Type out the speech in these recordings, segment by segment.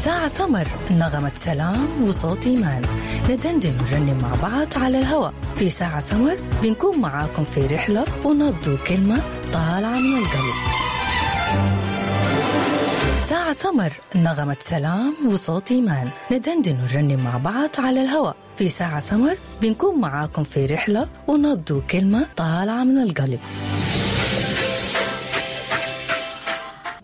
ساعة سمر، نغمة سلام وصوت إيمان، ندندن ونرنم مع بعض على الهواء. في ساعة سمر بنكون معاكم في رحلة ونبض كلمة طالعة من القلب. ساعة سمر، نغمة سلام وصوت إيمان، ندندن ونرنم مع بعض على الهواء. في ساعة سمر بنكون معاكم في رحلة ونبض كلمة طالعة من القلب.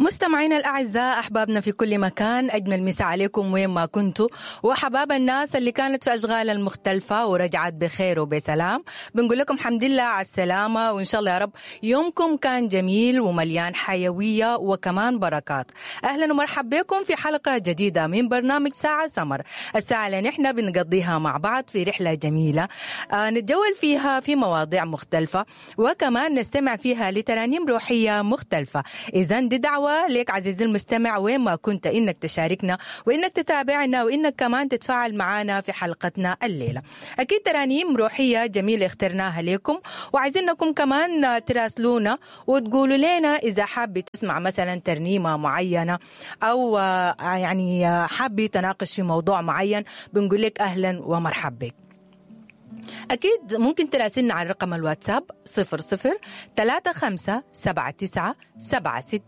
مستمعينا الأعزاء، أحبابنا في كل مكان، أجمل مساء عليكم وين ما كنتوا، وحباب الناس اللي كانت في أشغال المختلفة ورجعت بخير وبسلام، بنقول لكم حمد لله على السلامة، وإن شاء الله يا رب يومكم كان جميل ومليان حيوية وكمان بركات. أهلا ومرحبا بكم في حلقة جديدة من برنامج ساعة سمر، الساعة اللي نحن بنقضيها مع بعض في رحلة جميلة نتجول فيها في مواضيع مختلفة، وكمان نستمع فيها لترانيم روحية مختلفة. إذن دي دعوة ليك عزيزي المستمع وين ما كنت إنك تشاركنا وإنك تتابعنا وإنك كمان تتفاعل معنا في حلقتنا الليلة. أكيد ترانيم روحية جميلة اخترناها لكم، وعايزينكم كمان تراسلونا وتقولوا لنا إذا حابة تسمع مثلا ترنيمة معينة أو يعني حابة تناقش في موضوع معين، بنقول لك أهلا ومرحبا بك. أكيد ممكن تراسلنا على رقم الواتساب 00 35 79 76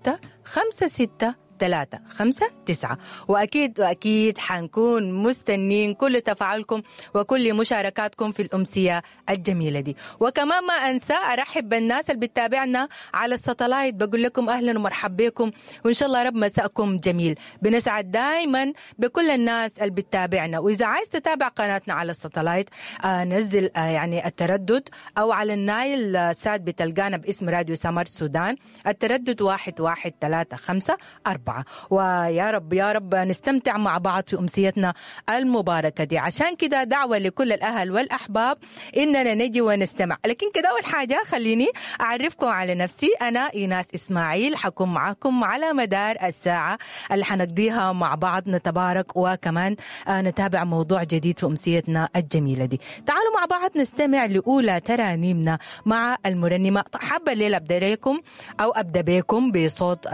56 3 5 9، وأكيد وأكيد حنكون مستنين كل تفاعلكم وكل مشاركاتكم في الأمسية الجميلة دي. وكمان ما أنسى أرحب بالناس اللي بتتابعنا على الساتلايت، بقول لكم أهلا ومرحبا بكم، وإن شاء الله رب مساءكم جميل. بنسعد دايما بكل الناس اللي بتتابعنا، وإذا عايز تتابع قناتنا على الساتلايت نزل يعني التردد، أو على النايل سات بتلقانا باسم راديو سمر سودان، التردد 11354. ويا رب يا رب نستمتع مع بعض في أمسيتنا المباركة دي. عشان كده دعوة لكل الأهل والأحباب إننا نجي ونستمع. لكن كده أول حاجة خليني أعرفكم على نفسي. أنا إيناس إسماعيل، حكون معاكم على مدار الساعة اللي حنقضيها مع بعض، نتبارك وكمان نتابع موضوع جديد في أمسيتنا الجميلة دي. تعالوا مع بعض نستمع لأولى ترانيمنا مع المرنمة. حابة الليلة أبدأ لكم أو أبدأ بكم بصوت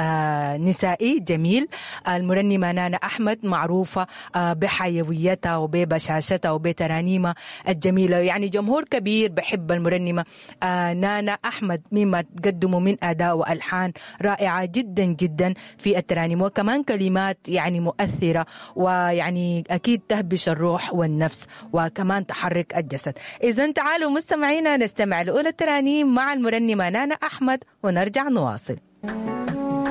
نسائي جميل، المرنمة نانا أحمد، معروفة بحيويتها وببشاشتها وبترانيمها الجميلة، يعني جمهور كبير بحب المرنمة نانا أحمد مما تقدمه من أداء وألحان رائعة جدا جدا في الترانيم، وكمان كلمات يعني مؤثرة، ويعني أكيد تهبش الروح والنفس وكمان تحرك الجسد. إذن تعالوا مستمعينا نستمع لأولى الترانيم مع المرنمة نانا أحمد ونرجع نواصل.